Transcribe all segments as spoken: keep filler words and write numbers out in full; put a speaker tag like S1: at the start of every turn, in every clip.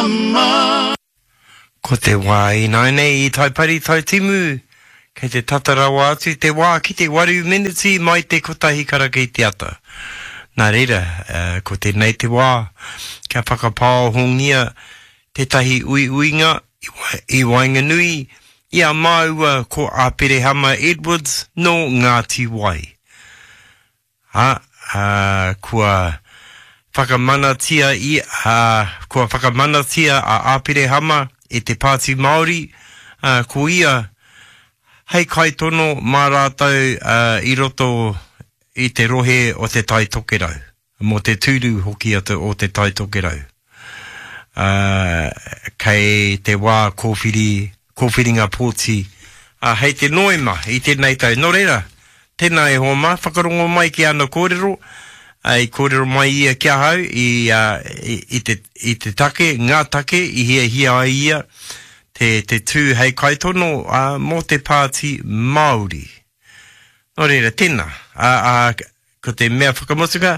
S1: mama.
S2: Ko te wā ināianei i Taipari Taitimu, kei te tata rawa atu te wā ki te waru meneti mai te kotahi karaka i te ata. Nā reira, ko tēnei te wā kia whakapāohongia tētahi uiuinga i waenganui i a māua ko Aperehama Edwards nō Ngāti Wai. Ā, ā, kua whakamanatia i, ā, kua whakamanatia a Aperehama e te Pāti Māori, ā, ko ia hei kaitono mā rātou, ā, i roto i te rohe o Te Tai Tokerau, mō te tūru hoki o Te Tai Tokerau. Ā, kei te wā kōwhiri, kōwhiringa pōti, ā, hei te Noema i tēnei tau. Nō reira, tēnā e hoa mā, whakarongo mai ki ana kōrero, ā, i kōrero mai ia ki ahau i, ā, i, i te, i te take, ngā take i hiahia ai ia te, te tū hei kaitono, ā, mō te Pāti Māori. Nō reira, tēnā, ā, ā, ko te mea whakamutunga,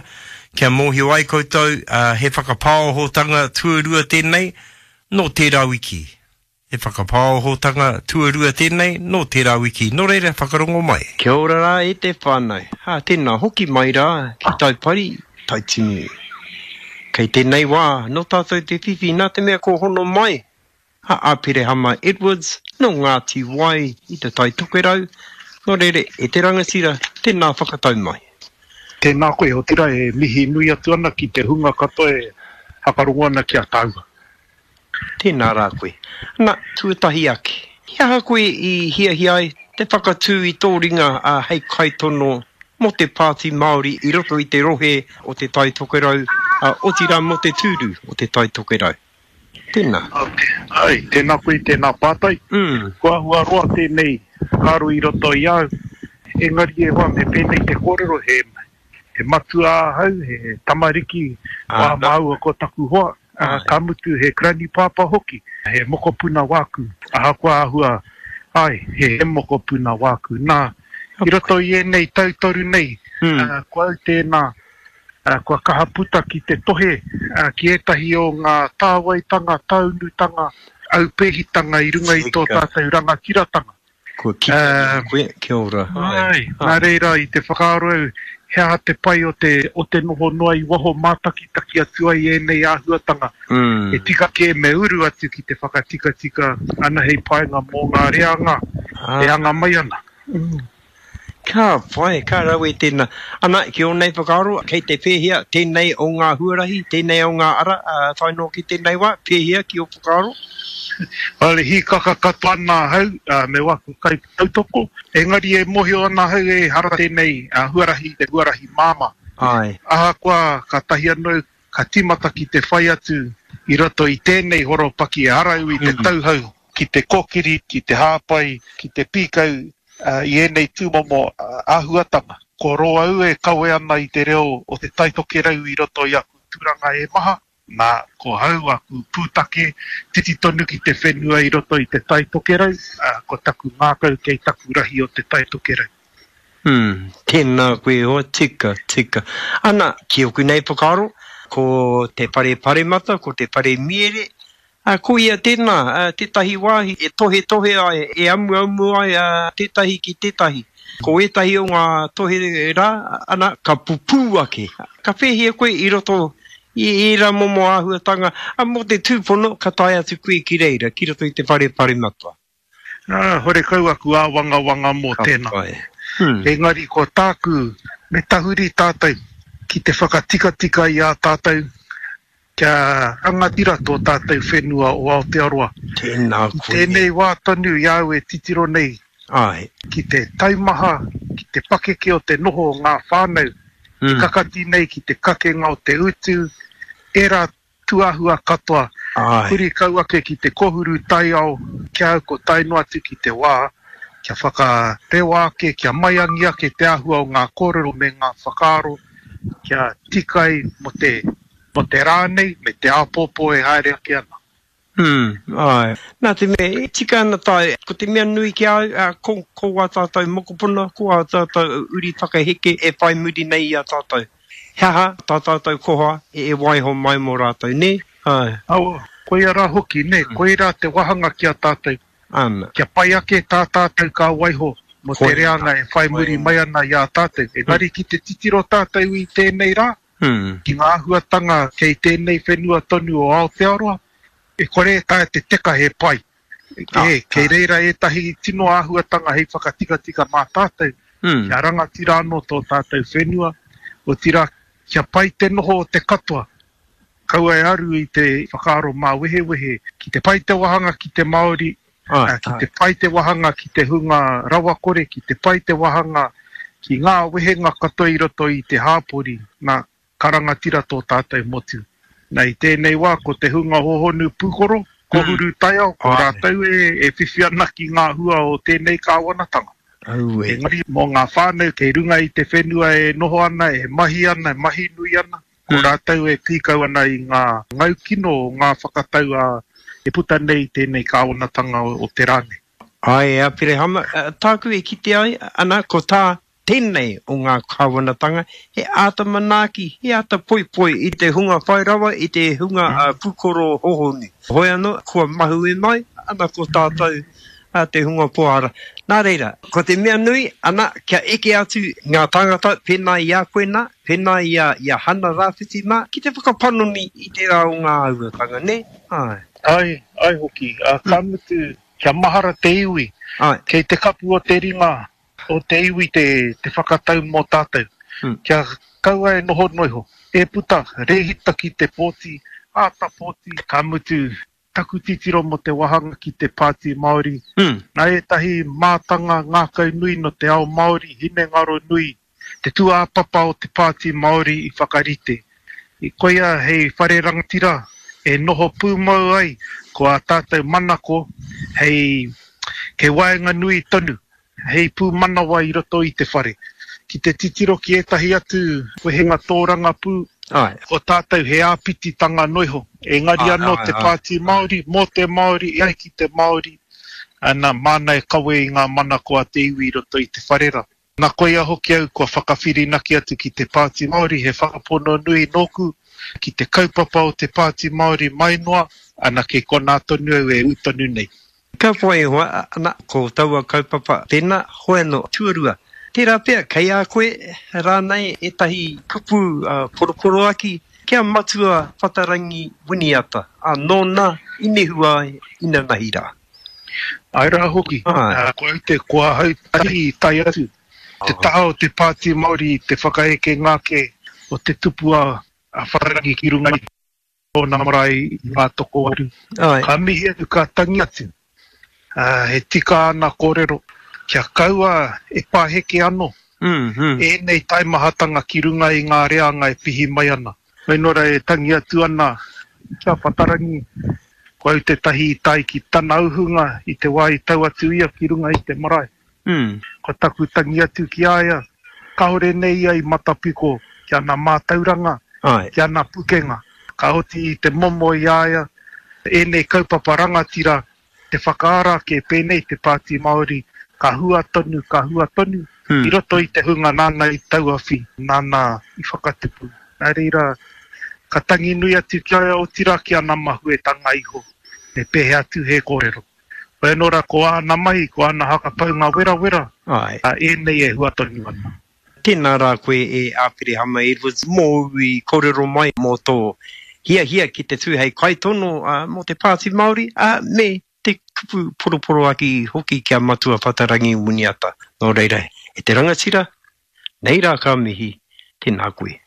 S2: kia mōhio ai koutou, ā, he whakapāohotanga tuarua tēnei nō tērā wiki. He whakapāohotanga tuarua tēnei nō tērā wiki. Nō reira, whakarongo mai. Kia ora rā e te whānau. Ā, tēnā, hoki mai rā ki Taipari, Taitimu. Kei tēnei wā, nō tātou te whiwhi nā te mea kua hono mai a Aperehama Edwards nō Ngāti Wai i Te Tai Tokerau, nō reira, e te rangatira, tēnā whakatau mai.
S3: Tēnā koe, otirā e mihi nui atu ana ki te hunga katoa e whakarongo ana ki a tāua.
S2: Tēnā rā koe. Na, tuatahi ake, he aha koe i hiahia ai te whakatū i tō ringa hei kaitono mō te Pāti Māori i roto i te rohe o Te Tai Tokerau, otirā mō te tūru o Te Tai Tokerau? Tēnā.
S3: Ai, tēnā koe i tēnā pātai.
S2: Mm.
S3: Kua āhua roa tēnei whakaaro i roto i a au. Engari e hoa, me pēnei te kōrero, he, he matua ahau, he tamariki wā māua ko taku hoa, ā, ka mutu he granny pāpā hoki, he mokopuna wāku, ahakoa āhua, āe, he mokopuna wāku. Nā, i roto i ēnei tau toru nei, ā, ko au tēnā, Kua kaha puta ki te tohe ki ētahi o ngā tāwaitanga, taunutanga, aupēhitanga i runga i tō tātou rangatiratanga.
S2: Kua kite nei koe, kia ora.
S3: Āe, nā reira i te whakaaro au he aha te pai o te, o te noho noa i waho mātakitaki atu ai ēnei āhuatanga. He tika kē me uru atu ki te whakatikatika ana hei painga mō ngā reanga e anga mai ana.
S2: Ka pai, ka rawe tēnā. Ana, ki ō nei whakaaro, kei te pēhea tēnei o ngā huarahi, tēnei o ngā ara, tae noa ki tēnei wā, pēhea ki ō whakaaro?
S3: Well, e hīkaka katoa ana ahau me waku kaitautoko, engari e mōhio ana ahau ehara tēnei huarahi i te huarahi māmā.
S2: Āe.
S3: Ahakoa kātahi anō ka tīmata ki te whai atu i roto i tēnei horopaki ehara au i te tauhou ki te kōkiri, ki te hāpai, ki te pīkau i ēnei tūmomo āhuatanga. Ko rō au e kawe ana i te reo o Te Tai Tokerau i roto i aku tūranga e maha, nā, ko hau aku pūtake, titi tonu ki te whenua i roto i Te Tai Tokerau, ko taku ngākau kei taku rahi o Te Tai Tokerau.
S2: Hmm, tēnā koe e hoa, tika, tika. Ana, ki oku nei whakaaro, ko te whare paremata, ko te whare miere, ā, ko ia tēnā, ā, tētahi wāhi e tohetohe ai, e amuamu ai ā, tētahi ki tētahi. Ko ētahi o ngā tohe rā, ana, ka pupū ake. Ka pēhia koe i roto i ērā momo āhuatanga, ā, mō te tūpono ka tae atu koe ki reira, ki roto i te whare paremata.
S3: Ā, horekau aku āwangawanga mō tēnā. Engari ko tāku, me tahuri tātou ki te whakatikatika i a tātou kia rangatira tō tātou whenua o Aotearoa.
S2: Tēnā
S3: I
S2: koe.
S3: tēnei wā tonu i a au e titiro nei
S2: Āe.
S3: ki te taumaha, ki te pakeke o te noho o ngā whānau e kakati nei ki te kakenga o te utu, ērā tūāhua katoa,
S2: Āe.
S3: huri kau ake ki te kohuru taiao, ki a au ko tae noa atu ki te wā kia whakarewa ake, kia maiangi ake te āhua o ngā kōrero me ngā whakaaro kia tika ai mō te, mō te rā nei me te āpōpō e haere ake ana.
S2: Hmm, āe. Nā te mea, e tika ana tae, ko te mea nui ki a au, ā, ko, ko ā tātou mokopuna, ko ā tātou uri whakaheke e whai muri nei i a tātou. He aha tā tātou koha e waiho mai mō rātou, nē? Āe.
S3: Aua, Koia rā hoki, nē, koirā te wāhanga ki a tātou.
S2: Ana.
S3: Kia pai ake tā tātou ka waiho mō te
S2: Koia.
S3: reanga e whai muri mai ana i a tātou. Engari ki te titiro tātou i tēnei rā, ki ngā āhuatanga kei tēnei whenua tonu o Aotearoa, e kore e taea te teka he pai. E, kei reira ētahi tino āhuatanga hei whakatikatika mā tātou, kia rangatira anō tō tātou whenua, otirā kia pai te noho o te katoa. Kaua e aru i te whakaaro māwehewehe, ki te pai te wāhanga ki te Māori, ki te pai te wāhanga ki te hunga rawakore, ki te pai te wāhanga ki ngā wehenga katoa i roto i te hāpori, nā, ka rangatira tō tātou motu. Nā, i tēnei wā, ko te hunga hohonu pūkoro, kohuru taiao, ko rātou e, e whiwhi ana ki ngā hua o tēnei kāwanatanga.
S2: Aue.
S3: Engari, mō ngā whānau kei runga i te whenua e noho ana, e mahi ana, e mahi nui ana, ko rātou e pīkau ana i ngā ngaukino o ngā whakatau a e puta nei tēnei kāwanatanga o, o te rā nei.
S2: Ai, Aperehama, tāku e kite ai, ana, ko tā tēnei o ngā kāwanatanga, he āta manaaki, he āta poipoi i te hunga whai rawa, i te hunga uh, pūkoro hohonu. Hoi anō, kua mahue mai, ana ko tātou uh, te hunga pohara. Nā reira, ko te mea nui, ana, kia eke atu ngā tāngata, pēnā i a koe nā, pēnā i a, i a Hana Rāwhiti mā, ki te whakapanoni i tērā o ngā āhuatanga, nē? Ai.
S3: Ai, ai hoki. Uh, ka mutu, kia mahara te iwi.
S2: Ai.
S3: Kei te kapu o te ringa o te iwi te, te whakatau mō tātou.
S2: Mm.
S3: Kia kaua e noho noiho. E puta, rehita ki te pōti, āta pōti, ka mutu, taku titiro mō te wāhanga ki te Pāti Māori.
S2: Mm.
S3: Nā ētahi mātanga ngākau nui no te ao Māori, hinengaro nui, te tūāpapa o te Pāti Māori i whakarite. I koia hei whare rangatira e noho pūmau ai ko ā tātou manako hei kei waenga nui tonu, hei pūmanawa i roto i te whare. Ki te titiro ki ētahi atu wehenga tōrangapū,
S2: Ai.
S3: ko tātou he āpititanga noiho. Engari
S2: Ai,
S3: anō
S2: ai,
S3: te
S2: ai.
S3: Pāti Māori, mō te Māori, e ai ki te Māori, ana māna e kawe i ngā manako a te iwi i roto i te whare rā. Nā koia hoki au kua whakawhirinaki atu ki te Pāti Māori, he whakapono nui nōku, ki te kaupapa o te Pāti Māori mai noa, ana kei konā tonu au e ū tonu nei.
S2: Ka whai hoa, ana, ko taua kaupapa tēnā, hoi anō, tuarua. Tērā pea, kei a koe rānei ētahi kupu uh, poroporoaki kia matua Whatarangi Winiata, a nōna i nehua ai inanahi rā.
S3: Ai rā hoki,
S2: Ai.
S3: uh, ko au te ko ahau tahi i tae atu. Te taha o te Pāti Māori i te whakaeke ngāke o te tupua a Whatarangi ki runga i tōna marae i ngā tokowaru.
S2: Ai.
S3: Ka mihi atu, ka tangi atu. Uh, he tika ana kōrero, kia kaua e pāheke anō.
S2: Mm, mm.
S3: Ēnei taimahatanga ki runga i ngā reanga e pihi mai ana. Whenora e tangi atu ana kia Whatarangi, ko au tētahi i tae ki tana uhunga i te wā i tau atu ia ki runga i te marae.
S2: Mm.
S3: Ko taku tangi atu ki a ia, kāore nei ia i matapiko ki ana mātauranga,
S2: Ai.
S3: ki ana pukenga. Ka oti i te momo i a ia, ēnei kaupapa rangatira, te whakaara ke pēnei te Pāti Māori, ka hua tonu, ka hua tonu,
S2: Mm.
S3: i roto i te hunga nāna i tauawhi, nāna i whakatupu. Nā reira, ka tangi nui atu ki a ia, otirā ki ana mahuetanga iho, me pēhea atu he kōrero. Hoi anō rā, ko āna mahi, ko āna hakapaunga werawera,
S2: Ai.
S3: a ēnei e hua tonu ana.
S2: Tēnā rā koe e Aperehama Edwards, mōu i kōrero mai mō tō hiahia ki te tū hei kaitono uh, mō te Pāti Māori, uh, me te kupu poroporoaki hoki kia matua Whatarangi Winiata. Nō reira, e te rangatira, nei rā ka mihi, tēnā koe.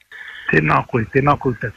S3: Tēnā koe, tēnā koutou.